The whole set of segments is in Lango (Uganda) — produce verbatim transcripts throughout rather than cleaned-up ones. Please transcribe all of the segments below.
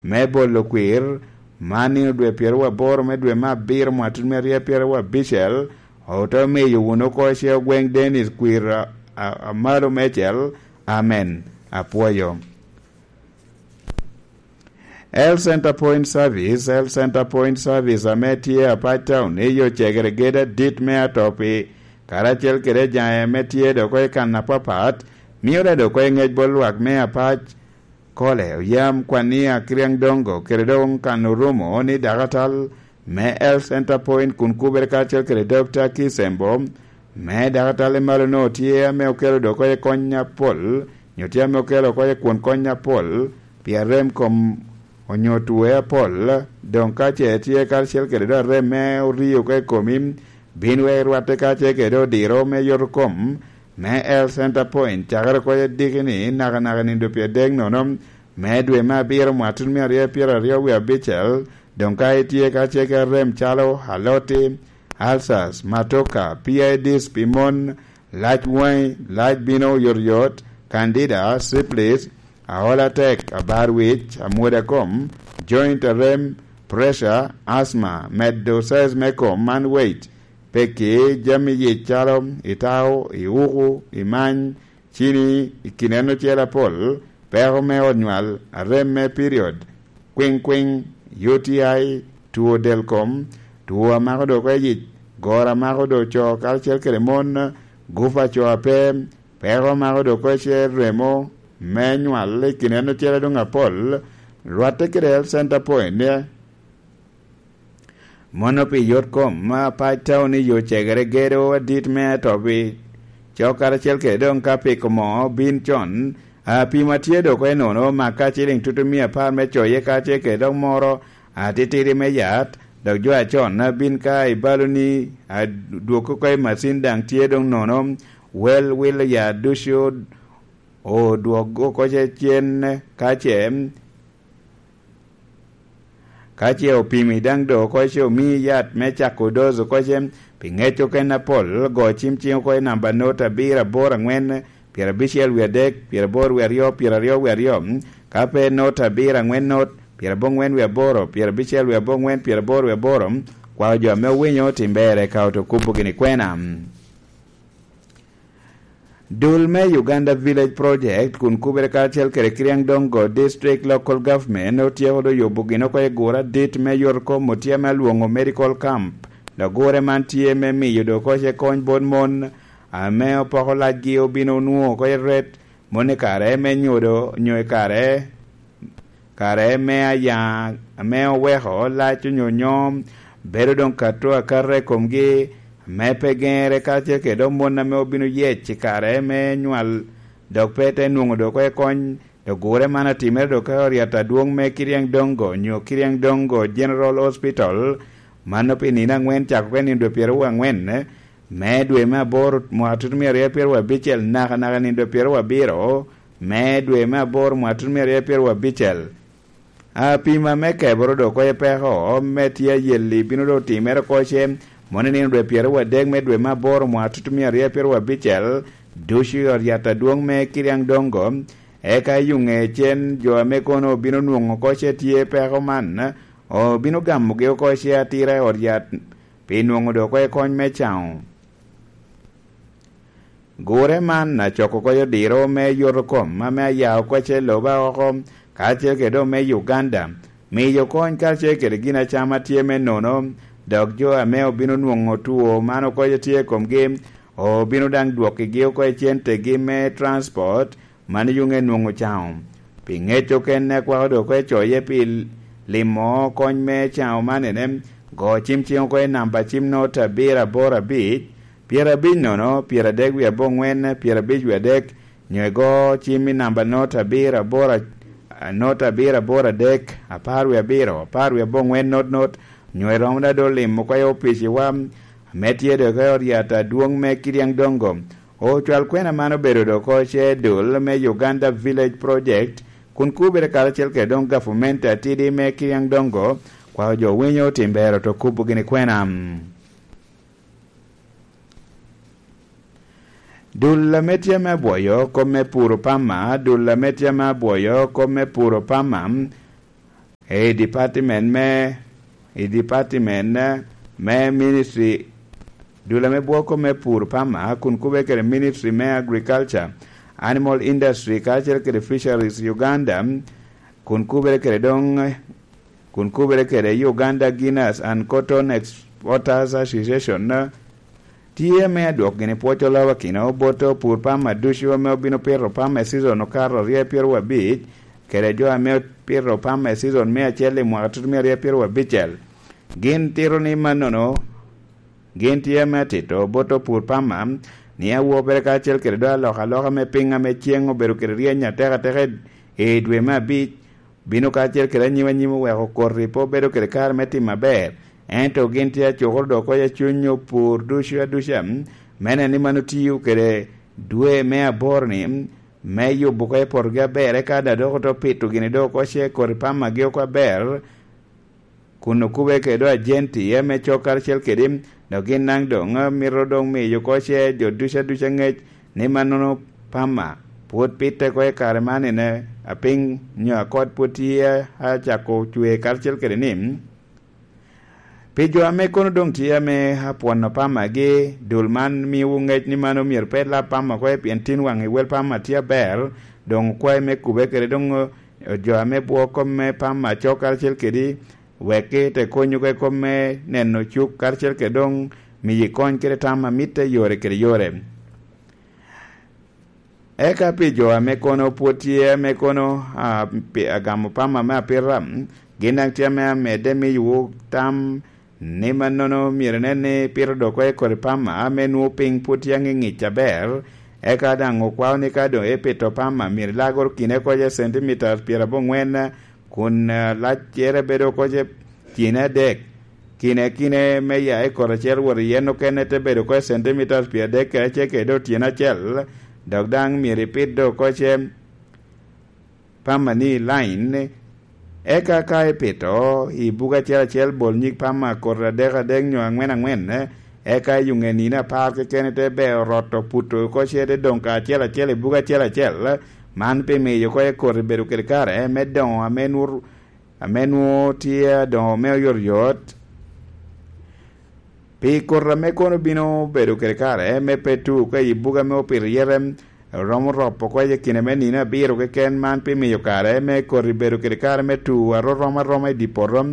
me bolo kwir, man nino dwe pyeraryo aboro me dwe me abiro mwatut me aryo pyeraryo abicel, ote miyo wunu oko ce ogweŋ Dennis kwir a, a, a malo mecel. Amen. Apwoyo. Health Center Point Service, Health Center Point Service ame tye Apac Town i yo cegere gedo adit me Atopi, karacel kede jaŋe ame tye dok oko i kan apapat, mio dok oko i ŋec bot lwak me Apac, Kole, Oyam, Kwania, Kiriaŋ Dongo, kede doŋ kan Orumo ni dakatal me Health Center Point kun kubere karacel kede Dokta Kisembo, me dakatal i malo-nu tye ame okelo dok oko i kony apol, nyo tye ame okelo oko i kwon kony apol, pi arem kom onyo tue apol, doŋ ka ce tye karacel kede doŋ arem me orio oko i komi, bin wek rwatte ka ce kede odiro me yoto kom, me Health Center Point, cakere oko i diki ni nakanaka nindo pyeradek nono, me dwe me abiro mwatut me aryo pyeraryo wie abicel, doŋ ka itye ka ce kede rem calo aloti, ulcers, matoka, P I Ds pi mon, lac waŋi, lac bino oyotoyot, candida, syphilis, aol atek, abar wic, amwoda kom, joint arem, pressure, asthma, medo size me kom man weight, peki jami yic calo itao, iuku, imany, cini, i kin en ocel apol, peko me ot nywal, arem me period, kwiŋkwiŋ, U T I, two del kom, two a mako dok oko i yic, goro a mako dok co karacel kede mon, gup a co ape, peko a mako dok oko i cer remo me nywal i kin en ocel adwoŋ apol, rwatte kede Health Center Point. Mono pi yot kom, Apac Town i yo cegere gedo adit me Atobi, cok karacel kede doŋ ka piko mo bin con, a, pi ma tye dok oko i nono, mak ka ciliŋ tutumia apar me coye ka ce kede dok moro atitidi me yat, dok jo acon a bin ka i baloni, a, dwog oko i macin daŋ tye doŋ nono, wel wilo yat ducu odwog oko ce cen ka ce, ka ce opimi daŋ do oko ce omii yat me cako doz oko ce, pi ŋec okene apol, go cim ciŋ oko i namba not abiro aboro aŋwen, pyerabicel wie adek, pyeraboro wie aryo, pyeraryo wie aryo, ka pe not abiro aŋwen not, pyerabongwen wie aboro, pyerabicel wie abongwen, pyeraboro wie aboro, kwako jo ame owinyo tim berre ka oto kubo gini kwena. Dul me Uganda Village Project kun kubere karacel kede Kiriaŋ Dongo District Local Government otyeko do yubo gin oko i gure adit me yot kom otye ame alwoŋo Medical Camp. Dok gure man tye me miyo do oko ce kony bot mon ame opoko lacgi obino onwoŋo oko i ret, mon i kare me nyodo nyo i kare kare me aya ame oweko lac onyo nyom bedo doŋ kato akata i komgi, ame pe geŋere karacel kede dok mon ame obino yec i kare me nywal, dok pe te nwoŋo dok oko i kony. Dok gure man atimere dok ka oryat adwoŋ me Kiriaŋ Dongo nyo Kiriaŋ Dongo General Hospital, mano pi nino aŋwen cako oko i nino dwe pyeraryo aŋwen me dwe me aboro mwaka tutumia aryo pyeraryo abicel, nakanaka nino dwe pyeraryo abiro me dwe me aboro mwaka tutumia aryo pyeraryo abicel. Apima me keboro dok oko i peko me tye ayelli bino dok timere oko ce, mono i nino dwe pyeraryo adek me dwe me aboro mwaka tutumia aryo pyeraryo abicel, ducu i ot yat adwoŋ me Kiriaŋ Dongo, eka i ŋe cen jo ame kono obino nwoŋo oko ce tye peko man, obino gamogi oko ce atira i ot yat pi nwoŋo dok oko i kony me caŋo. Gure man acoko oko i odiro me yoto kom ame aya oko ce loba oko, karacel kede doŋ me Uganda, miyo kony karacel kede gin acama tye me nono, dok jo ame obino nwoŋo two man oko ce tye i komgi, obino daŋ dwokkigi oko i centegi me transport, man yuŋe nwoŋo caŋo. Pi ŋec okene akwako dok oko i coye pi limo kony me caŋo man ene, go cim ciŋ oko i namba cim not abiro aboro abic, pyerabic nono, pyeradek wie aboŋwen, pyerabic wie adek, nyo igo cim i namba not abiro aboro a-, not abiro aboro adek, apar wie abiro, apar wie aboŋwen not not, nyo iromo dado limo oko i opiciwa, ame tye dok i ot yat adwoŋ me Kiriaŋ Dongo. Ocwal kwena man obedo dok oko ce dul me Uganda Village Project, kun kubere karacel kede doŋ gavumenti atidi me Kiriaŋ Dongo, kwako jo winyo tim bero to kubo gini kwena. Dul ame tye me abwoyo kop me puro pama, dul ame tye me abwoyo kop me puro pama, I department me, i department me ministry, dul ame bwoko me pur pama, kun kube kede ministry me agriculture, animal industry, kacel kede fisheries Uganda, kun kubere kede dong, kun kubere kede Uganda Guinness and Cotton Exporters Association, tye me adwok gini pwoc olawakino bot opur pama ducu ame obino pito pama i season okato aryo pyero abic, kede jo ame opito pama i season me acel i mwaka tutumia aryo pyero abicel. Gin tito ni mannono, gin tye me atito bot opur pama ni awobere kacel kede do alokaloka me piny ame ceng obedo kede ryeny atekateka i dwe me abic, bino kacel kede anyim anyim oweko koti pe obedo kede kare me timo aber. Ento gin tye acukoro dok okoc acuny opur ducu aduca, me neno ni mano tiyo kede dwe me aboro-ni, me yubo oko i potogi aber, eka daŋ dok oto pito gini dok okoc koti pamagi oko aber, kun okube kede ajenti ame cok karacel kede, dok gin daŋ doŋ mito doŋ miyo oko ce jo ducu aduca ŋec ni mannono pama pwod pitte oko i kare man ene apiny nyo akot pwod tye acako cwe karacel kede ni, pi jo ame kono doŋ tye ame apwono pamagi, dul man miyowu ŋec ni mano myero pe lab pama oko, pien tin waŋ i wel pama tye aber, doŋ okwae me kube kede doŋ jo ame bwoko me pama cok karacel kedi, wek gite konyo oko i kom me neno cuk karacel kede doŋ miyi kony kede tam a mitte yore kede yore. Eka pi jo ame kono pwod tye ame kono a, pi- agamo pama me apita, gin daŋ tye ame amedde miyowu tam ni mannono myero inen ni pito dok oko i kodi pama ame nwoŋo piny pwod tye aŋiŋic aber, eka daŋ okwao ni ka doŋ ipito pama myero ilagoro kine oko iye centimeters pyeraboŋwen, kun eh, laccere bedo oko ce tyene adek. Kine kine me ya i koti acel wot i yen okene te bedo oko i centimeters pyeradek kede acel kede otyeno acel, dok daŋ myero ipit dok oko ce pama ni i lain. Eka ka ipito i buga acel acel, bol nyig pama koti adek adek nyo aŋwen aŋwen, eka i ŋe nino apar keken ite beo roto puto oko ce te doŋ ka acel acel i buga acel acel. Man pi miyo oko i koti bedo kede kare me doŋo ame nwoto ame nwoŋo tye adoŋo me oyotoyot. Pi koti ame kono bino bedo kede kare me pe tu ka i buga ame opito yete romo ropo oko i kine me nino abiro keken, man pi miyo kare me koti bedo kede kare me tu a rom aroma i dye poto,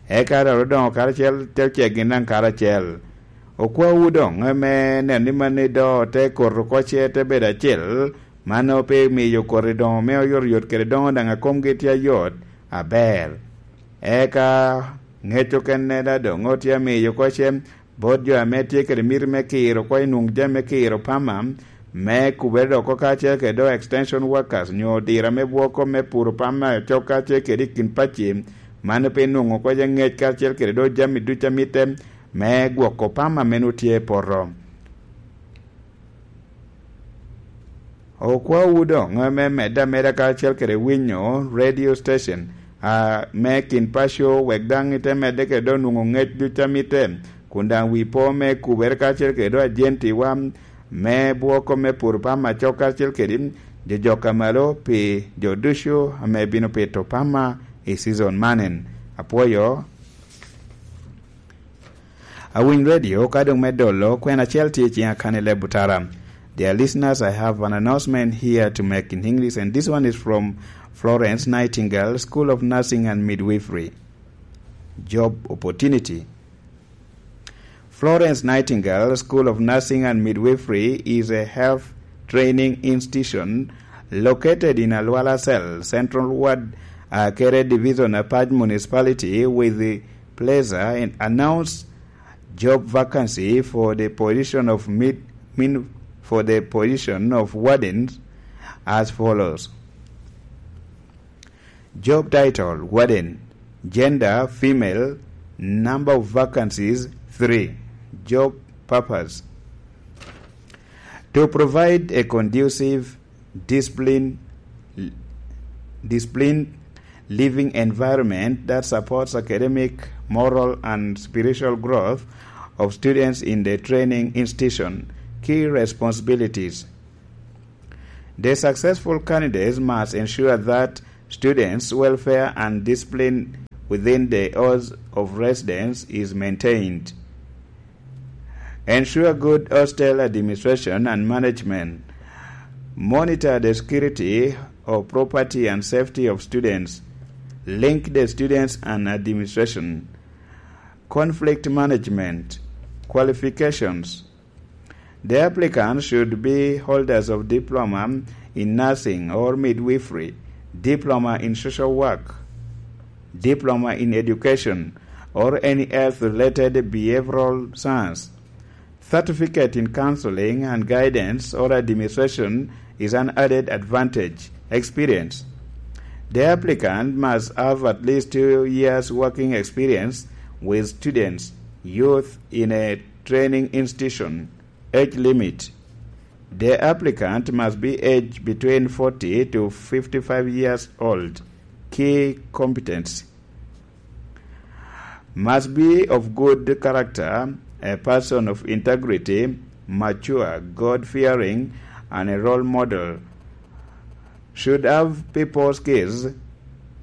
eka dok odoŋo karacel te ceggi naŋ karacel. Okwawu doŋ me neno ni mano ido te koti oko ce te bedo acel, mano pe miyo koti doŋo me oyotoyot kede doŋo daŋ a komgi tye ayot aber. Eka ŋec okene daŋ doŋ otye amiyo oko ce bot jo ame tye kede miti me kiro oko i nwoŋ jami me kiro pama, me kubere dok oko kacel kede do extension workers nyo odira me bwoko me puro pama cok kacel kede i kin pacci, mano pe nwoŋo oko ce ŋec kacel kede do jami ducu a mitte me gwoko pama ame nwoŋo tye i poto. Okwawu doŋ me medde ameda kacel kede winyo radio station a me kin paco, wek daŋ ite medde kede do nwoŋo ŋec ducu a mitte, kun daŋ wi po me kubere kacel kede do ajentiwa me bwoko me puro pama cok kacel kede jo jok a malo pi jo ducu ame bino pito pama i season manen. Apwoyo. Awiny radio ka dong me dolo, kwena acel tye i ciŋa kan i leb otara. Dear listeners, I have an announcement here to make in English, and this one is from Florence Nightingale School of Nursing and Midwifery. Job opportunity. Florence Nightingale School of Nursing and Midwifery is a health training institution located in Alwala Cell, Central Ward, Akere Division, Apac Municipality, with the pleasure and announce job vacancy for the position of mid, min, for the position of wardens as follows. Job title, warden. Gender, female. Number of vacancies, three. Job purpose. To provide a conducive discipline, disciplined living environment that supports academic, moral, and spiritual growth of students in the training institution. Key responsibilities. The successful candidates must ensure that students' welfare and discipline within the halls of residence is maintained. Ensure good hostel administration and management. Monitor the security of property and safety of students. Link the students and administration. Conflict management. Qualifications. The applicant should be holders of diploma in nursing or midwifery, diploma in social work, diploma in education, or any health-related behavioral science. Certificate in counseling and guidance or administration is an added advantage. Experience. The applicant must have at least two years working experience with students, youth in a training institution. Age limit. The applicant must be aged between forty to fifty-five years old. Key competency. Must be of good character, a person of integrity, mature, God-fearing, and a role model. Should have people skills,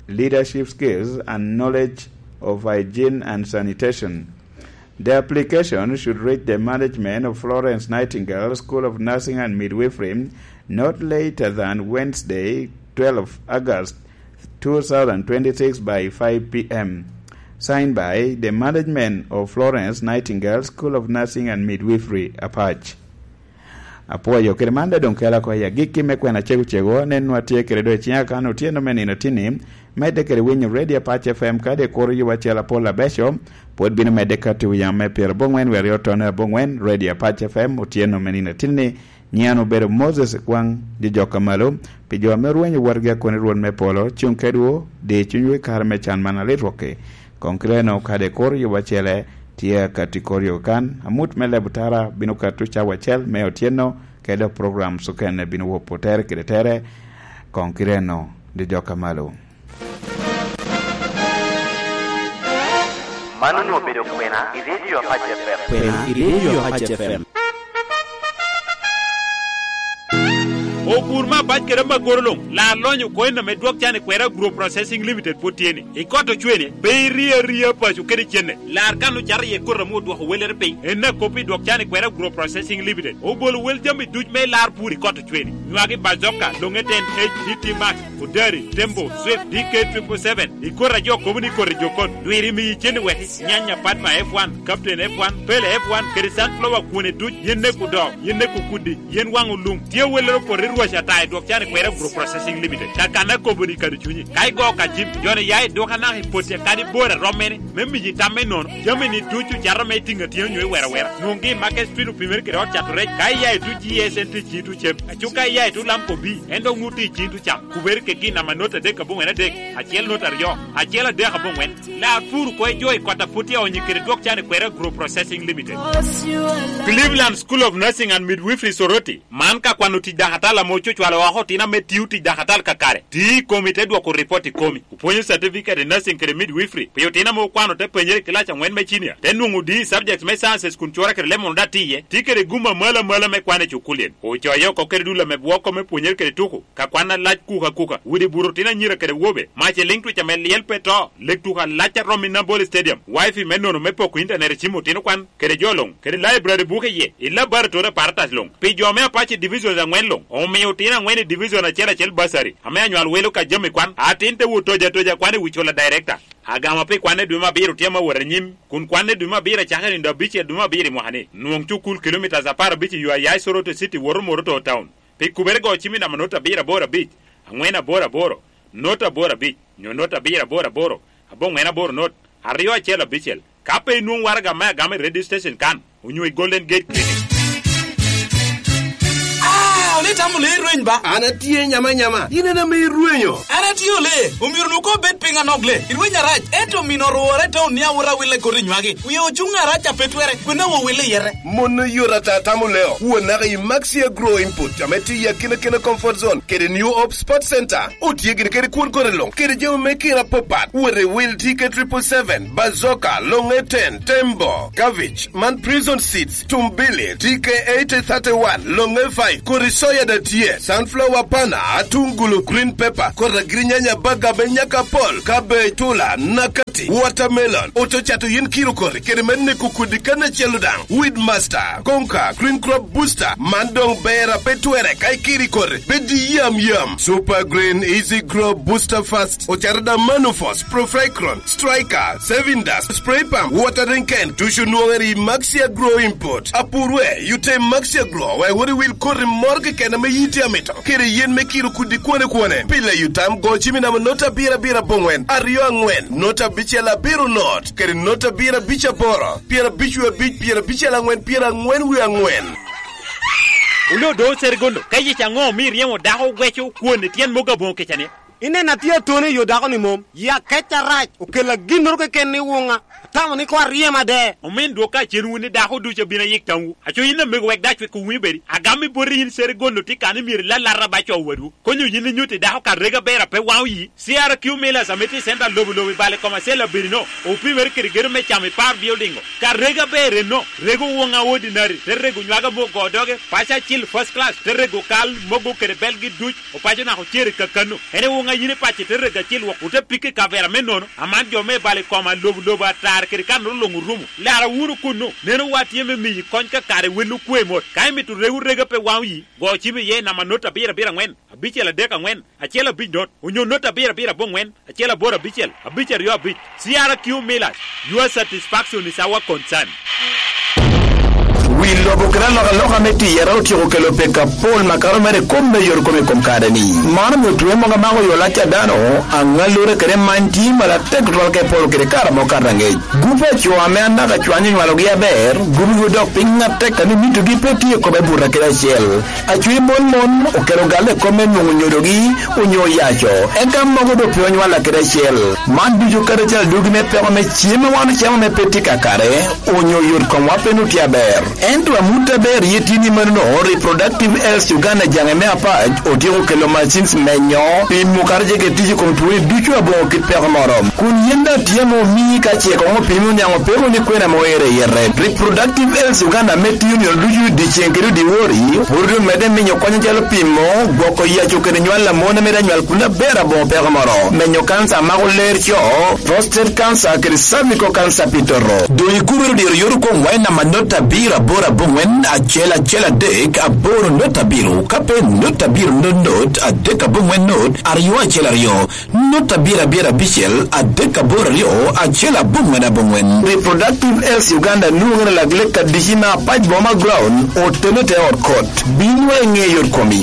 leadership skills, and knowledge of hygiene and sanitation. The application should reach the management of Florence Nightingale School of Nursing and Midwifery not later than Wednesday, twelve August two thousand twenty-six, by five p.m. Signed by the management of Florence Nightingale School of Nursing and Midwifery, Apac. Apwoyo kede man, doŋ kela oko i agikki me kwena cego cego, nen nwa tye kede do i ciŋa kan otyeno me nino tinni, medde kede winyo Radio Apac F M, kadi kuro yubo acel apol abeco, pwod bino medde ka tuko yam me pyero aboŋwen wer i otone aboŋwen, Radio Apac F M, otyeno me nino tinni. Nyiŋ an obedo Moses Ekwaŋ, jo jok a malo, pi jo ame orwenyo wotgi akoni Rwot me polo, cuŋ kedwu, di cunywu i kare me can man alit wokki. Koŋ kite-nu kadi kuro yubo acele, tye akatti kor yo kan, amut me lebo tara bino kato cawa acel me otyeno, kede dok program okene bino wopo tere kede tere, koŋ kite-nu, di jok a malo. Man onwoŋo obedo kwena i Radio Apac F M. Kwena i Radio Apac F M. Opur me abac kede amagoro luŋ, lar lonyo coin ame dwok can i kwera Agro Processing Limited pwod tye ni. I kot ocwene, pe irie aria paco kede cene. Lar kan ocato iye koti ame odwoko wellere piny. En akop i dwok can i kwera Agro Processing Limited. Obolo wel jami duc me lar pur i kot ocwene. Nywagi bazoka, longe ten H D T Max, Odari, Tembo, Swift, D K triple seven. I koti a jo kobo ni koti jo kot. Dwiri miyi cen i weki. Nyanya Padma F one, Captain F one, Pele F one, kede sunflower kwone duc, yen neko doo, yen neko kudi, yen waŋ olum. Tye wellere opoto i rwac ata i dwok can i kwera Agro Processing Limited. Kakanna kobo ni kadi cunyi. Ka igo ka jim, joni ya i duka naka i poti kadi bor a romme ni, me miyi tam me nono. Jami ni ducu cato me tiŋ atyeno nyo i wera wera. Nwoŋgi i Market Street opimere kede ot cato rec. Ka iya i tu G S N T G tu cem. Aco ka iya i tu Lamco B, en dok ŋut i cin tu cam. Kubere kegi namba not adek aboŋwen adek, acel not aryo, acel adek aboŋwen. Lar pur oko i jo i kot a pwod tye aonyo kede dwok can i kwera Agro Processing Limited. Cleveland School of Nursing and Midwifery Soroti, man ka kwano tic dakatal ame ococwalo oko otino ame tio tic dakatal kakare. Ti i komi te dwoko ripot i komi. Opwonyo certificate in nursing kede midwifery pi otino ame okwano te penyere i kilac aŋwen me cinia, te nwoŋo D subject me sciences kun cura kede leb mono daŋ tye iye. Ti kede gum amalo amalo me kwan i cukulien. Ocoyo oko kede dul ame bwoko me pwonyere kede tuko. Ka kwan alac kuka kuka, udi buto otino anyira kede wobe, mac eliŋ twic ame lyel pe to, lek tuko alac a romo i Nambole Stadium, wifi me nono me poko intanet i cim otino kwan, kede jo luŋ, kede library buke iye, i laboratory apparatus luŋ. Pi jo me Apache Divisions aŋwen luŋ, omio otino aŋwen i division acel acel bursary, ame anywal welo ka jami kwan, atin te wot toja toja kwan i wi cula director. Agamo pi kwan i dwe me abiro tye ame wot anyim, kun kwan i dwe me abiro acako i nino abicel dwe me abiro i mwaka ni. Nwoŋ cukul kilomitas apar abic i yo aya i Soroti City woto Moroto Town. Pi kubere go cim i namba not abiro aboro abic, aŋwen aboro aboro, not aboro abic, nyo not abiro aboro aboro, aboŋwen aboro not, aryo acel abicel. Ka pe inwoŋo waraga me agama i radio station kan, onyo i Golden Gate Clinic. Ah, ole itamo le irweny ba? An atye nyama nyama. In en ame irwenyo. An atye ole, omyero nu ko bed piny anok le. Irweny arac, ento mino orwora i taun ni awot awille koti nywagi. Wiye ocuŋ arac a pe twere, kwena wo wille yete. Mon oyot ata tamo leo. Wuon naka i Maxi Agro Input, ame tiyo i akina kina comfort zone, kede New Hope Sport Center. Otye gini kede kwon kore luŋ, kede jami me kina apapat. Wot i wil T K triple seven, Bazoka, Longe ten, Tembo, Cabbage, man Prison Seeds, Tumbili, T K eighty thirty-one, Longe five, kodi soya da tye, sunflower pana, atungulu, green pepper, kodi agirinyanya baga me nyaka pol, cabbage, tula, nakati. Watermelon, oto cato yin kiro koti kede me neko kodi kan acel daŋ. Weedmaster, Konka, Green Crop Booster, man doŋ ber a pe twerre ka ikiri koti, bed yam yam. Super Green Easy Grow Booster Fast, ocato daŋ Manufos, Profecron, Striker, Saving Dust, Spray Pump, Watering Can, ducu nwoŋere i Maxia Grow Import. Apurwe, yute Maxia Grow, wek wot i wil koti moro keken ame yiti amito. Kede yen me kiro kudi kwone kwone. Pile yutam go cimi namba nota abiro abiro aboŋwen, aryo aŋwen, nota abicel abiro not, kede nota abiro abic aboro, pyera abic wie abic, pyera abicel aŋwen, pyera aŋwen wie aŋwen. Oloo do Serigondo, ka yec aŋo omio iryemo dako ogweco kwon i tyen mogo aboŋo kica ni? Ineno atye atone i yo dako ni mom, ya kec arac, okella ginnoro keken ni wuŋa. Atamo ni koŋ aryem ade. Omin dwok ka cen wun ni dako ducu abino ayik tamwu. Aco yin amego wek dac wek owinyo bedi. Agam i boti yin Serigondo tye kan ni myero ilalata ba co wadwu. Konyo yin inyutti dako ka rega ber a pe waŋo yi. C R Q Millers ame tye i center lobo lobo i bale koma cel abedi no. Opimere kede gedo me camo i par building o. Ka rega ber enno, rego woŋa ordinary, te rego nywaga mo go doge, paco acil first class, te rego kal mogo kede belgi duc. Opaco naka ocer i kakano. En i woŋa yin i pace te rego acil wok, ote pikke i kavera me nono. Aman jo me balo i koma lobo lobo atar kede kan ru luŋ orumo. Lara wunu kunnu, neno wa tye me miyi kony ka kare wel okwe mot. Ka imito rego rega pe waŋo yi, go cim iye i namba not abiro abiro aŋwen, abicel adek aŋwen, acel abic not, onyo not abiro abiro aboŋwen, acel aboro abicel, abic aryo abic. C R Q Millers, your satisfaction is our concern. Wi lobo kede alokaloka me tiyere otyeko kelo peko apol makato mere i kom me yor kom i kom kare-ni. Man omio twe mogo amako yo lac a dano, aŋallure kede many tye malo atek tutwal ka iporo kede kare amo kato aŋec. Gupe a co ame anaka cwany onywalogi aber, gupigo dok piny atek ame mitogi pe tye i kome buto kede acel. Acwiny mon mon okelo galle i kom me nwoŋo nyodogi onyo oyaco, eka mogo doŋ pe onywalla kede acel. Man ducu kadi acel adwogi me peko me cem a wan ocamo ame pe tye kakare, onyo yot komwa pe nut tye aber. Ento amut aber ye tye ni manono, Reproductive Health Uganda jaŋe me apac otyeko kelo machines menyo, pimo kadi ce kede tic i kom twoni ducu aboŋo kit peko moro. Kun yen daŋ tye ame omii ka ce koŋ opimi oniaŋ opeko ni kwena ame oero i yete. Reproductive Health Uganda me tiyo nino ducu dyeceŋ kede dyewor, pwod omedde miyo kony acalo pimo, gwoko yaco kede nywal a mon a mito anywal kun aber aboŋo peko moro, menyo kanca a mako ler co, prostate cancer kede cervical cancer pi toto. Doŋ ikubere diro yot okwoŋwa i namba not abiro aboro aboŋwen acel acel adek aboro not abiro, ka pe not abiro not not adek aboŋwen not aryo acel aryo. Not abiro abiro abicel adek aboro aryo acel aboŋwen aboŋwen. Reproductive Health Uganda nwoŋere lak lek adici me apac boma ground, otene te ot kot. Binwa i ŋe yot komi.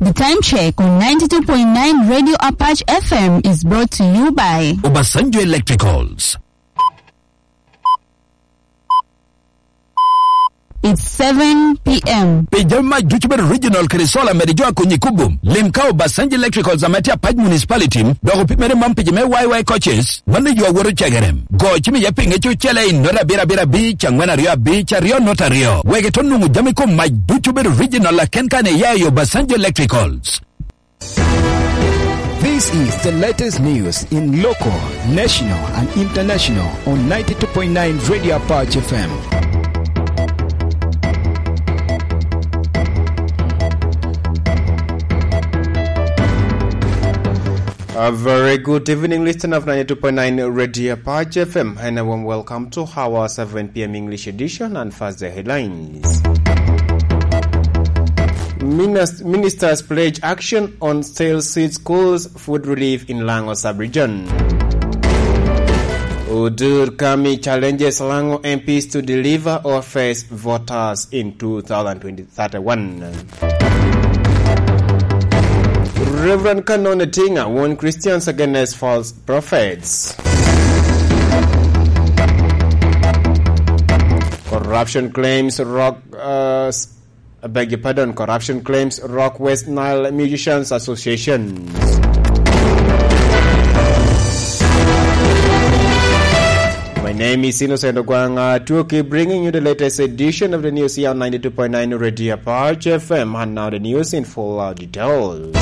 The time check on ninety-two point nine Radio Apache F M is brought to you by Obasanjo Electricals. It's seven p.m. Pi jami mac ducu bedo original kede solar mede jo akonyi kubum. Lim ka Obasanjo Electricals ame tye Apac Municipality, dok opimere man pici me Y Y coaches, mano yo awoto cegerem. Go cim iye pi ŋec ocele i not abiro abiro abic, angwen aryo abic, aryo not aryo. Wek ito nwoŋo jami kom mac ducu bedo original aken kan iya i Obasanjo Electricals. This is the latest news in local, national, and international on ninety-two point nine Radio Apache F M. A very good evening, listener of ninety-two point nine Radio Apache F M, and a warm welcome to our seven p.m. English edition and first the headlines. Minis- ministers pledge action on sale seed schools food relief in Lango sub-region. Odur Kami challenges Lango M Ps to deliver or face voters in two thousand twenty thirty-one. Reverend Canon Etinga warn Christians against false prophets. Corruption claims rock, uh, s- I beg your pardon, corruption claims rock West Nile Musicians Association. My name is Innocent Ogwang Atwoki, bringing you the latest edition of the news here on ninety-two point nine Radio Apache F M. And now the news in full, uh, details.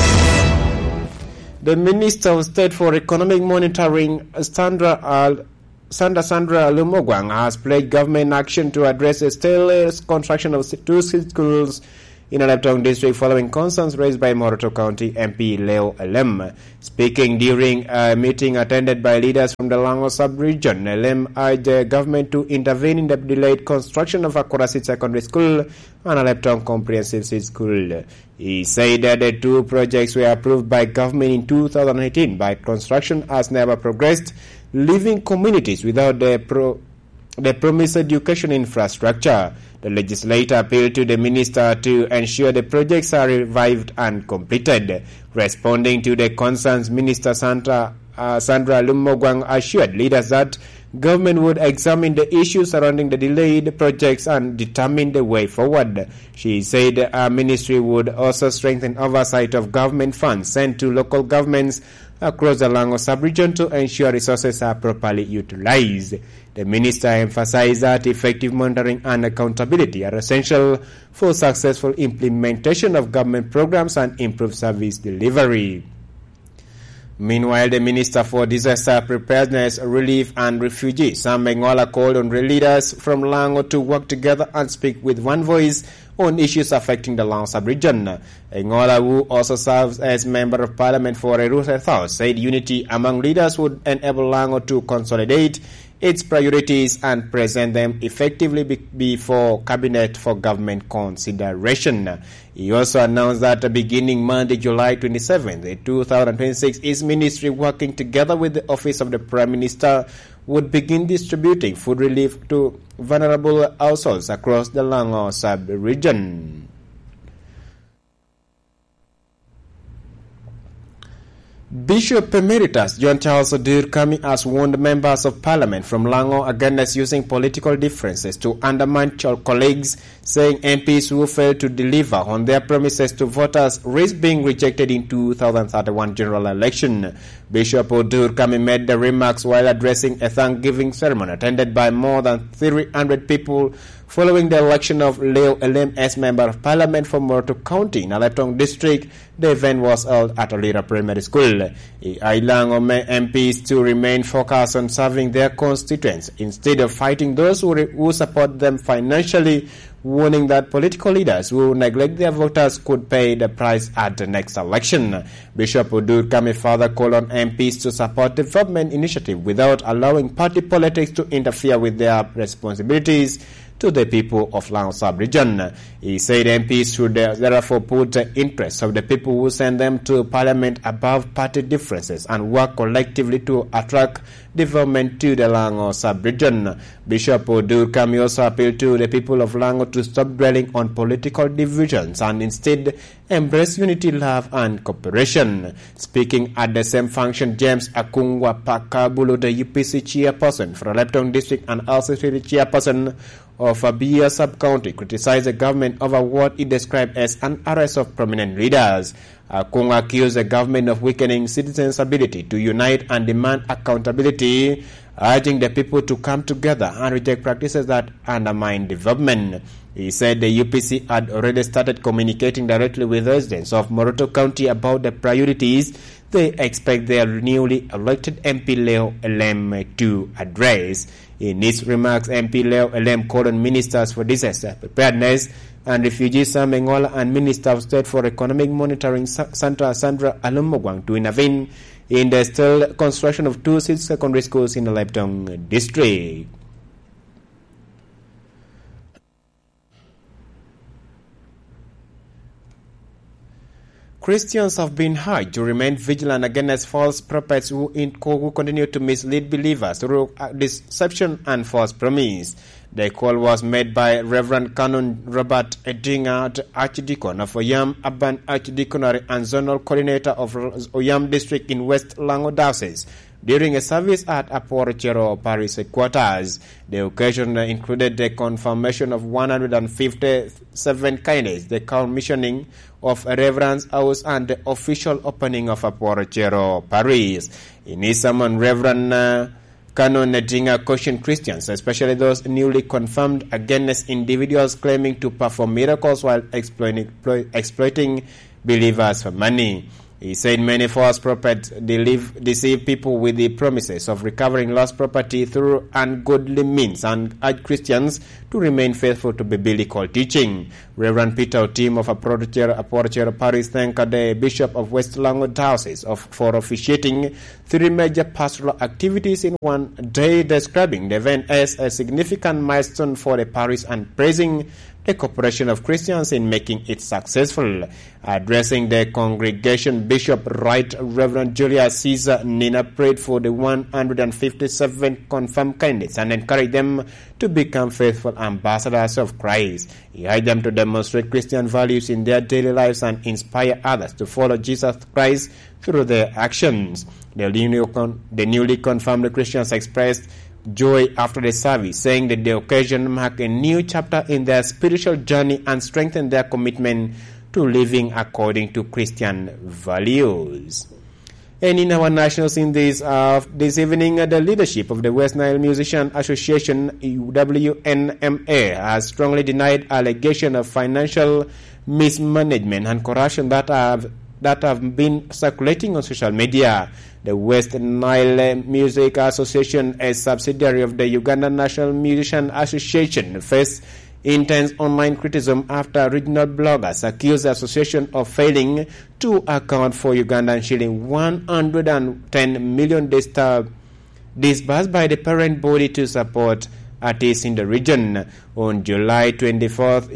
The Minister of State for Economic Monitoring, Sandra Al- Sandra Sandra Lumogwang, has pledged government action to address the stale construction of two schools in Aleptong District following concerns raised by Moroto County M P Leo Elem. Speaking during a meeting attended by leaders from the Lango sub-region, Elem urged the government to intervene in the delayed construction of Akurasi Secondary School and Aleptong Comprehensive School. He said that the two projects were approved by government in two thousand eighteen, but construction has never progressed, leaving communities without the pro-, the promised education infrastructure. The legislator appealed to the minister to ensure the projects are revived and completed. Responding to the concerns, Minister Santa, uh, Sandra Lumogwang assured leaders that government would examine the issues surrounding the delayed projects and determine the way forward. She said her ministry would also strengthen oversight of government funds sent to local governments across the Lango sub-region to ensure resources are properly utilized. The minister emphasized that effective monitoring and accountability are essential for successful implementation of government programs and improved service delivery. Meanwhile, the Minister for Disaster Preparedness, Relief and Refugees, Sam Engola, called on leaders from Lango to work together and speak with one voice on issues affecting the Lango sub-region. Engola, who also serves as Member of Parliament for Erusha South, said unity among leaders would enable Lango to consolidate its priorities and present them effectively be-, before cabinet for government consideration. He also announced that beginning Monday, July twenty-seventh, two thousand twenty-six, his ministry, working together with the Office of the Prime Minister, would begin distributing food relief to vulnerable households across the Lango sub-region. Bishop Emeritus John Charles Odur Kami has warned members of parliament from Lango against using political differences to undermine your colleagues, saying M Ps who fail to deliver on their promises to voters risk being rejected in two thousand thirty-one general election. Bishop Odur Kami made the remarks while addressing a thanksgiving ceremony attended by more than three hundred people following the election of Leo Elem as Member of Parliament for Moroto County in Aleptong District. The event was held at Olira Primary School. He urged Lango M Ps to remain focused on serving their constituents instead of fighting those who re-, who support them financially, warning that political leaders who neglect their voters could pay the price at the next election. Bishop Odur Kami further called on M Ps to support development initiative without allowing party politics to interfere with their responsibilities to the people of Lango sub-region. He said M Ps should, uh, therefore put the interests of the people who send them to parliament above party differences and work collectively to attract development to the Lango sub-region. Bishop Odur Kami also appealed to the people of Lango to stop dwelling on political divisions and instead embrace unity, love, and cooperation. Speaking at the same function, James Akungwa Pakabulu, the U P C chairperson for Aleptong District and L C C chairperson of Abia Sub-County, criticized the government over what he described as an arrest of prominent leaders. Akungwa accused the government of weakening citizens' ability to unite and demand accountability, urging the people to come together and reject practices that undermine development. He said the U P C had already started communicating directly with residents of Moroto County about the priorities they expect their newly elected M P Leo Elem to address. In his remarks, M P Leo Elem called on ministers for disaster preparedness and refugees Sam Engola and Minister of State for Economic Monitoring Sa-, Santa Sandra Alumogwang to intervene in the stalled construction of two seed secondary schools in the Leptong district. Christians have been urged to remain vigilant against false prophets who in-, who continue to mislead believers through, uh, deception and false promise. The call was made by Reverend Canon Robert Edinga, the Archdeacon of Oyam Urban Archdeaconry and Zonal Coordinator of Oyam District in West Lango Diocese, during a service at Apor Chero Parish Headquarters. The occasion included the confirmation of one hundred fifty-seven candidates, the commissioning of a Reverend's House, and the official opening of Apor Chero Parish. In his sermon, Reverend, uh, Canon Nedinga cautioned Christians, especially those newly confirmed, against individuals claiming to perform miracles while exploiting, exploiting believers for money. He said many false prophets deliv-, deceive people with the promises of recovering lost property through ungodly means and urge Christians to remain faithful to biblical teaching. Reverend Peter Otim of Aporocero, Aporocero Parish thanked the Bishop of West Lango Diocese of, for officiating three major pastoral activities in one day, describing the event as a significant milestone for the parish and praising the cooperation of Christians in making it successful. Addressing the congregation, Bishop Right Reverend Julius Caesar Nina prayed for the one hundred fifty-seven confirmed candidates and encouraged them to become faithful ambassadors of Christ. He urged them to demonstrate Christian values in their daily lives and inspire others to follow Jesus Christ through their actions. The newly con-, the newly confirmed Christians expressed joy after the service, saying that the occasion marked a new chapter in their spiritual journey and strengthened their commitment to living according to Christian values. And in our national scene this, uh, this evening, uh, the leadership of the West Nile Musician Association, W N M A, has strongly denied allegation of financial mismanagement and corruption that have, that have been circulating on social media. The West Nile Music Association, a subsidiary of the Uganda National Musician Association, faced intense online criticism after regional bloggers accused the association of failing to account for Ugandan shilling one hundred ten million disturb-, disbursed by the parent body to support artists in the region. On July twenty-fourth,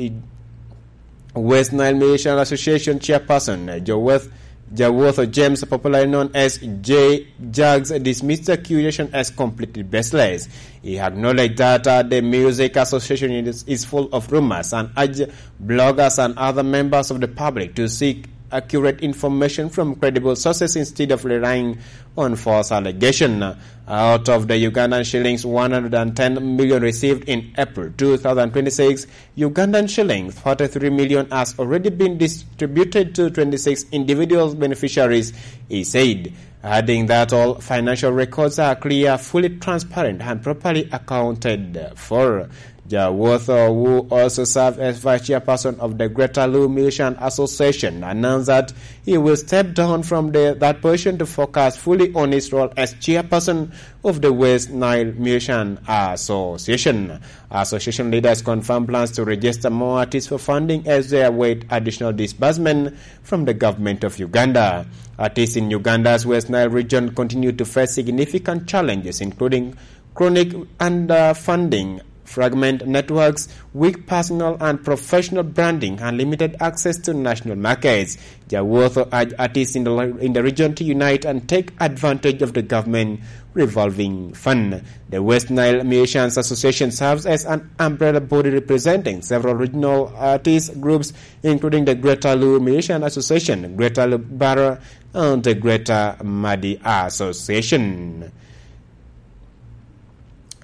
West Nile Musician Association chairperson, uh, Jaweth, Jawotho James, popularly known as J Jags, dismissed the accusation as completely baseless. He acknowledged that, uh, the Music Association is, is full of rumors and urged bloggers and other members of the public to seek accurate information from credible sources instead of relying on false allegation. Out of the Ugandan shillings one hundred ten million received in April two thousand twenty-six, Ugandan shillings forty-three million has already been distributed to twenty-six individual beneficiaries, he said, adding that all financial records are clear, fully transparent, and properly accounted for. Jawotho, who also served as vice chairperson of the Greater Luo Musician Association, announced that he will step down from the, that position to focus fully on his role as chairperson of the West Nile Musician Association. Association leaders confirm plans to register more artists for funding as they await additional disbursement from the government of Uganda. Artists in Uganda's West Nile region continue to face significant challenges, including chronic underfunding, fragment networks, weak personal and professional branding, and limited access to national markets. Jawotho urged artists in the, in the region to unite and take advantage of the government revolving fund. The West Nile Musicians Association serves as an umbrella body representing several regional artist groups, including the Greater Luo Musician Association, Greater Luo Barra, and the Greater Madi Association.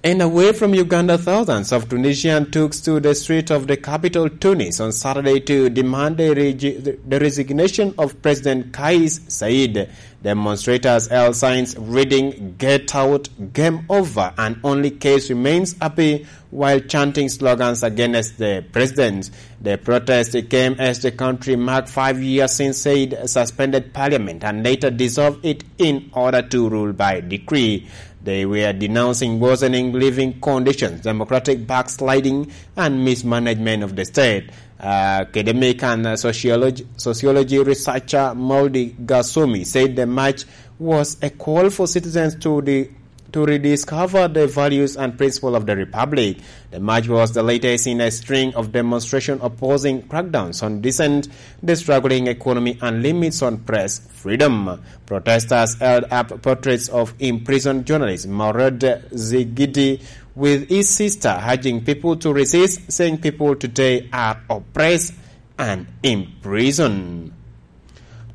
And away from Uganda, thousands of Tunisians took to the street of the capital, Tunis, on Saturday to demand the regi-, the resignation of President Kais Saied. Demonstrators held signs reading, "Get out, game over, and only Kais remains," up while chanting slogans against the president. The protest came as the country marked five years since Saied suspended parliament and later dissolved it in order to rule by decree. They were denouncing worsening living conditions, democratic backsliding, and mismanagement of the state. Uh, academic and, uh, sociology, sociology researcher Maudi Gasumi said the march was a call for citizens to the, to rediscover the values and principle of the republic. The march was the latest in a string of demonstrations opposing crackdowns on dissent, the struggling economy, and limits on press freedom. Protesters held up portraits of imprisoned journalist Maured Zigidi with his sister, urging people to resist, saying people today are oppressed and imprisoned.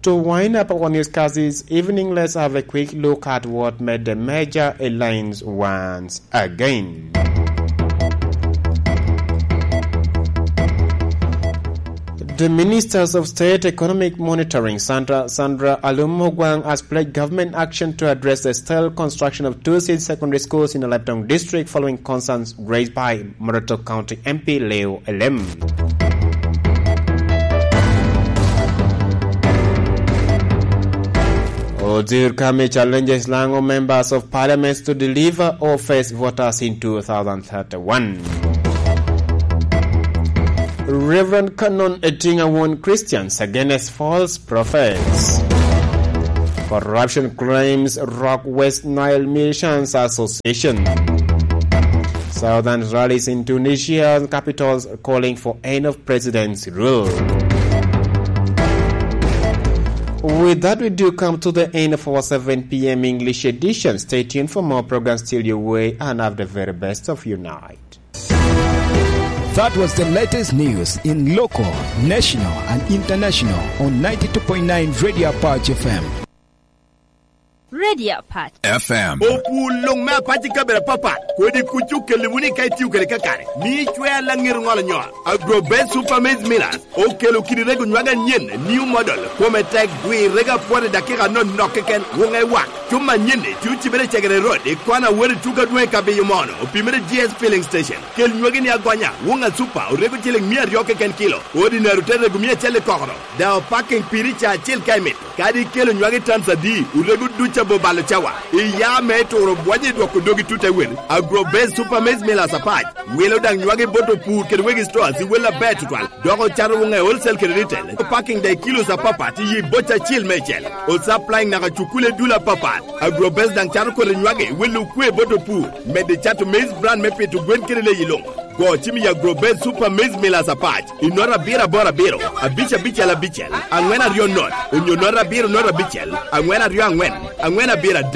To wind up our newscast this evening, let's have a quick look at what made the major headlines once again. The Ministers of State Economic Monitoring, Sandra, Sandra Alum Ogwang, has pledged government action to address the stalled construction of two seed secondary schools in the Leptong district following concerns raised by Moroto County M P Leo Elem. Odzir Kami challenges Lango members of parliament to deliver or face voters in two thousand thirty-one. Reverend Canon Etinga warn Christians against false prophets. Corruption claims rock West Nile Missions Association. Southern rallies in Tunisian capitals calling for end of president's rule. With that, we do come to the end of our seven p m English edition. Stay tuned for more programs till your way, and have the very best of your night. That was the latest news in local, national, and international on ninety-two point nine Radio Apache F M. Radio Apache F M. Opul luŋ me Apache i kabedo apapat, kodi kuc okelli wunu ka itio kede kakare. Mi icwe alaŋir ŋolo nyol. Agro Best Super Maize Millers okelo kidi rego nywage anyen, new model, kome tek, dwi rego apwodo i dakika anonok keken, wuŋe wak. Cuma anyen-ni tye ocibere i Cegere Road, i kona wot i tuko adwoŋ i Kabiyo Mono, opimere G S Filling Station. Kel nywagi ni agonya, wuŋ a Super, orego ciling mia aryo keken kilo, Ordinary te rego mia acel i kokoro, daŋ opaking piri ca acel ka imito. Kadi ikelo nywagi tons adi, orego duc abobalo cawa. Iya me turo bwonyo i dwoko dogi tut awel. Agro Best Super Maize Millers Apac wilo daŋ nywagi bot opur kede wegi stores i wel aber tutwal, dok ocato wuŋe wholesale kede retail. Opaking daŋ i kilos apapat i yi boca acel meicel. Osupplying naka cukule dul apapat. Agro Best daŋ cato kodi nywagi welo okwe bot opur, medo cato maize bran me pito gwen kede leyi luŋ. Go cim i Agro Best Super Maize Millers Apac i nota abiro aboro abiro, abic abicel abicel, aŋwen aryo not, onyo nota abiro not abicel, aŋwen aryo aŋwen, aŋwen abiro adek.